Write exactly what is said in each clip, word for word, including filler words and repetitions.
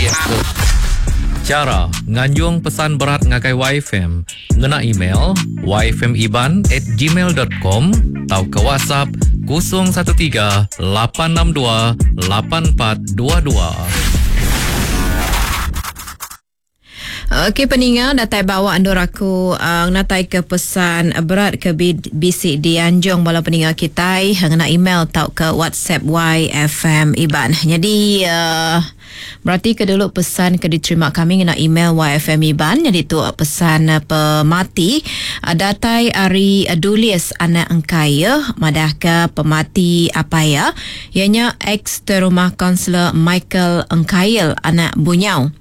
Facebook. Chara nganjung pesan berat ngagai Y F M ngena email y f m iban at gmail dot com tauka WhatsApp kosong satu tiga lapan enam dua lapan empat dua dua. Okey peninga datai bawa andur aku uh, natai ke pesan berat ke B C di Anjung bala peninga kitai ngena email tau ke WhatsApp Y F M Iban. Jadi uh, berarti ke dulu pesan ke diterima kami ngena email Y F M Iban. Jadi tu pesan pemati datai ari Dulis anak engkai ya madah ke pemati apa ya ianya ex terumah kaunselor Michael Engkail anak Bunyau.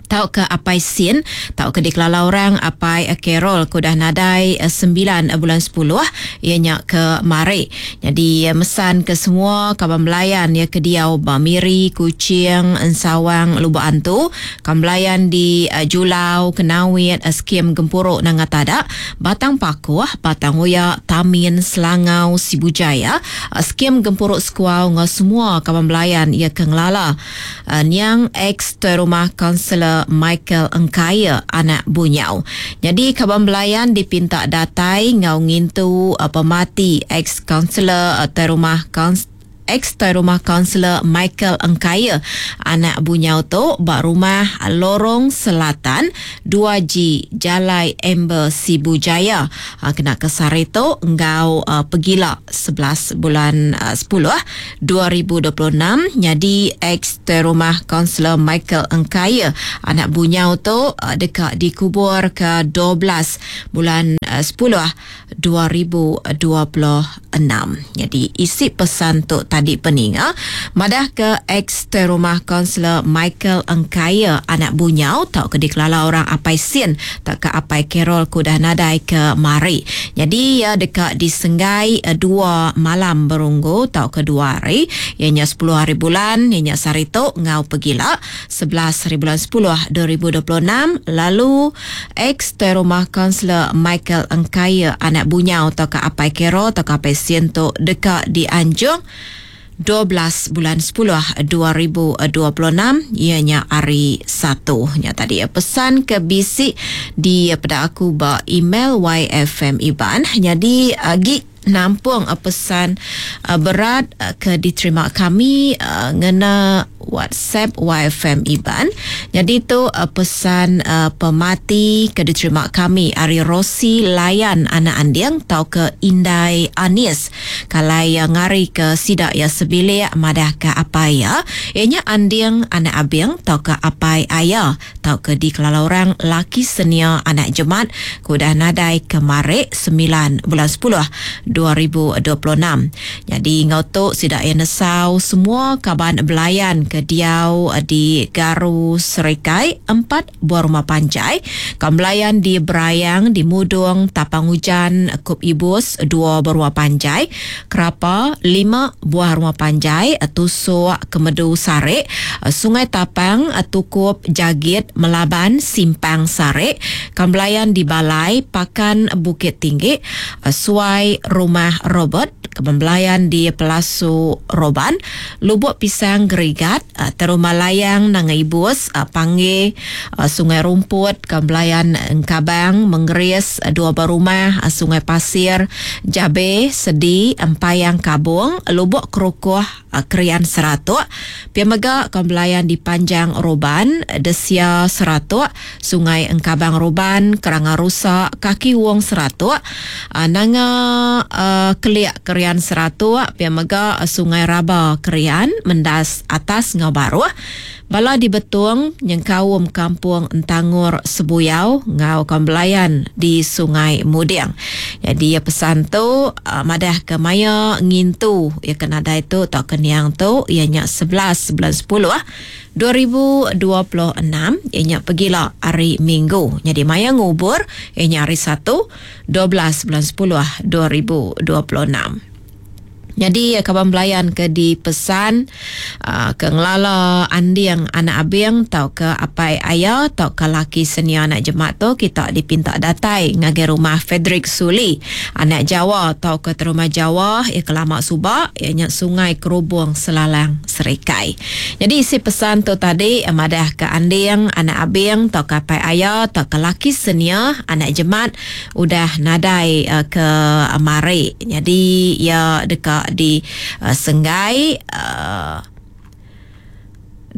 Tau ke apai sin, tau ke dikelala orang apai Carol ke udah nadai sembilan bulan sepuluh ianya ke mari. Jadi mesan ke semua kaban belayan ya ke diau ba Miri, Kuching, Ensawang, Lubok Antu, kaban belayan di Julau, Kenawit, Skim Gempuruk Nanga Tada, Batang Pakuh, Batang Oya, Tamin, Selangau, Sibu Jaya, Skim Gempuruk Sekuau ngau semua kaban belayan ya ke ngelala. Niang ex rumah kaunselor Michael Engkaya anak Bunyau. Jadi kaban belayan dipinta datai ngau ngintu uh, pemati ex kaunselor uh, rumah kaunselor ex rumah kaunselor Michael Engkaya anak Bunyau tu bak rumah Lorong Selatan dua G Jalai Amber Sibu Jaya. Ha, kena ke sehari tu enggau uh, pegila sebelas bulan uh, sepuluh dua ribu dua puluh enam. Jadi ex rumah kaunselor Michael Engkaya anak Bunyau tu uh, dekat dikubur ke dua belas bulan uh, sepuluh dua ribu dua puluh enam. Jadi isi pesan tu tadi peninga madah ke ex rumah kaunselor Michael Engkaya anak Bunyau tau ke dikelala orang apai sin tak ke apai Carol ku dah nadai ke mari. Jadi ya dekat disenggai dua malam berunggu tau ke dua hari ianya sepuluh hari bulan ianya sehari tu ngau pegila sebelas hari bulan sepuluh dua ribu dua puluh enam. Lalu ex rumah kaunselor Michael Engkaya anak Bunyau tau ke apai Carol tau ke apai sin tu dekat dianjung dua belas bulan sepuluh dua ribu dua puluh enam ianya hari Satu. Nya tadi pesan ke bisik di pada aku ba email Y F M Iban. Jadi agi nampung pesan berat ke diterima kami ngena WhatsApp Y F M Iban. Jadi tu pesan pemati ke diterima kami ari Rosi Layan anak Andiang tau ke Indai Anis. Kalai yang ngari ke sidak ya sebilik madah ke apa ya. Ianya Andiang anak Abing tau ke apai ayah tau ke dikelala orang laki senia anak Jemat kudah nadai kemarik sembilan bulan sepuluh dua ribu dua puluh enam. Jadi ngau tu sidak ya nesau semua kaban belayan ke diau di Garu Serikai empat buah rumah panjai, kambelayan di Berayang, di Mudung, Tapang Hujan, Kup Ibus dua buah rumah panjai, Kerapa lima buah rumah panjai, Tusuk Kemedu Sarik, Sungai Tapang, Tukup Jagit, Melaban, Simpang Sarik, kambelayan di Balai, Pakan Bukit Tinggi, Suai Rumah Robert, kembelayan di Pelasu Roban, Lubuk Pisang Gerigat, Terumah Layang Nanga Ibus, Panggil, Sungai Rumput, kembelayan Engkabang, Menggeris, dua berumah, Sungai Pasir, Jabe, Sedi, Empayang Kabung, Lubuk Kerukuh, Krian Seratuk, Piamega kembelayan di Panjang Roban, Desia Seratuk, Sungai Engkabang Roban, Keranga Rusak, Kaki Wong Seratuk, Nanga Uh, Keliak Kerian Seratuk, Piamega Sungai Raba Kerian, Mendas Atas Ngau Baruh, Bala di Betung, Nyengkaum Kampung Entangur Sebuyau, Ngau Kambelayan di Sungai Muding. Jadi ya pesan tu uh, madah ke maya ngintu ya kena dai tu tak keniang tu ianya sebelas bulan sepuluh dua ribu dua puluh enam ianya pergilah hari Minggu. Jadi maya ngubur ianya hari Satu dua belas bulan sepuluh dua ribu dua puluh enam. Jadi kaban belayan ke dipesan uh, ke ngelala Anding anak Abing tau ke apai aya tau ke laki senia anak jemat tu kita dipinta datai ngagai rumah Frederick Suli anak Jawa tau ke rumah Jawa ya kelama suba ianya Sungai Kerubung Selalang Serikai. Jadi isi pesan tu tadi madah ke Anding anak Abing tau ke apai aya tau ke laki senia anak jemat udah nadai uh, ke mari. Jadi ia dekat di uh, Senggai uh,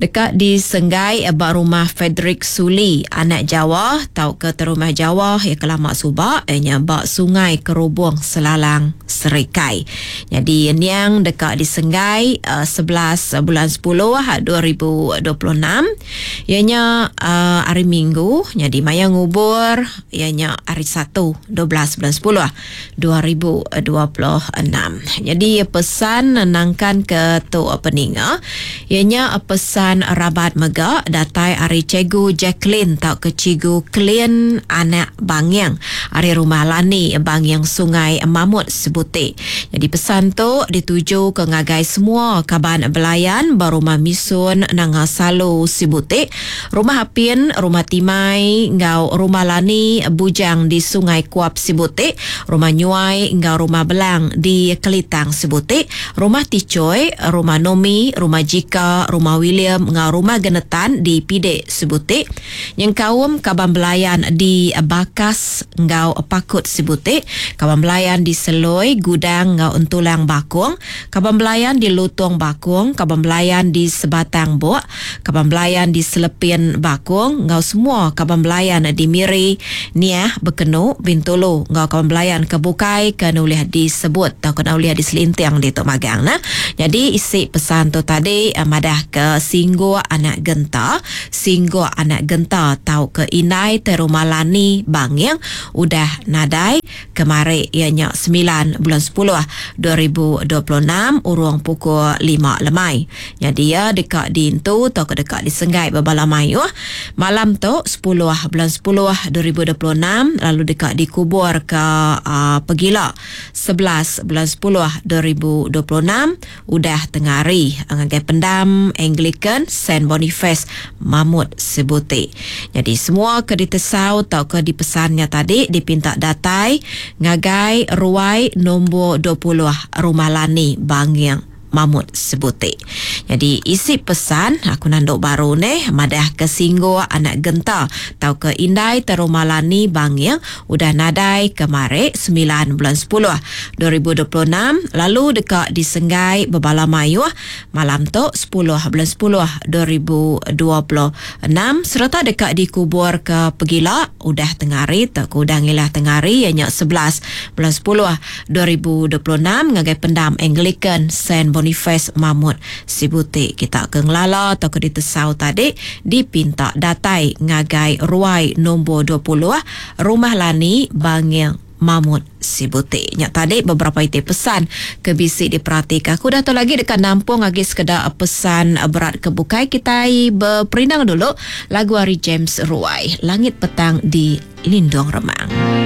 dekat di Senggai ba rumah Frederick Suli anak Jawa tau ke rumah Jawa ya kelama suba ianya ba Sungai Kerubung Selalang Serikai. Jadi niang dekat di Senggai uh, sebelas bulan sepuluh dua ribu dua puluh enam ianya uh, hari Minggu. Jadi maya ngubur ianya hari Satu dua belas bulan sepuluh dua ribu dua puluh enam. Jadi pesan nangkan ke tu peninga ianya pesan rabat mega datai ari Cikgu Jacqueline tau ke Cikgu Klin anak Bangyang ari rumah Lani Bangyang Sungai Mamut Sebutik. Jadi pesan tu dituju ke ngagai semua kaban belayan berumah Misun Nanga Salu Sibutik, rumah Apin, rumah Timai ngau rumah Lani Bujang di Sungai Kuap Sibutik, rumah Nyuai ngau rumah Belang di Kelitang Sibutik, rumah Ticoy, rumah Nomi, rumah Jika, rumah William ngau rumah Genetan di Pidek Sebutik, yang kaum kaban belayan di Bakas ngau Pakut Sebutik, kaban belayan di Seloi Gudang ngau Entulang Bakung, kaban belayan di Lutong Bakung, kaban belayan di Sebatang Bok, kaban belayan di Selepin Bakung ngau semua kaban belayan di Miri, Niah, Bekenu, Bintulu ngau kaban belayan ke Bukai ke nulih disebut atau ke nulih diselintiang di Tok Magang nah. Jadi isi pesan tu tadi madah ke Singgo anak Genta, Singgo anak Genta tau ke Inai Terumah Lani Bangyang udah nadai kemari ianya sembilan bulan sepuluh dua ribu dua puluh enam urung pukul lima lemai. Jadi ya dekat di intu tau ke dekat di Senggai berbala mayuh malam tu sepuluh bulan sepuluh dua ribu dua puluh enam lalu dekat dikubur ke uh, Pegila sebelas bulan sepuluh dua ribu dua puluh enam udah tengah hari ngagai pendam Anglican Saint Boniface Mamut Sebutik. Jadi semua ke ditesau atau ke dipesannya tadi dipinta datai ngagai ruai nombor dua puluh Rumah Lani Bangyang Mamut Sebutik. Jadi isi pesan aku nanduk baru ni madah ke Singgo anak Genta tau ke Indai Terumah Lani Bangyang udah nadai kemari sembilan bulan sepuluh dua ribu dua puluh enam lalu dekat di Senggai berbala mayuh malam tu sepuluh bulan sepuluh dua ribu dua puluh enam serta dekat dikubur ke Pegila udah tengah hari tak udah ngilah tengah hari ianya sebelas bulan sepuluh dua ribu dua puluh enam ngagai pendam Anglican Saint Boniface Mamut Sibutik. Kita ke ngelala atau ke ditesau tadi dipinta datai ngagai ruai nombor dua puluh Rumah Lani Bangyang Mamut Sibutik. Nyak tadi beberapa itik pesan ke bisi diperhatikan. Aku dah tahu lagi dekat nampung lagi sekedar pesan berat ke bukai. Kita berperindang dulu lagu hari James Ruai, Langit Petang di Lindung Remang.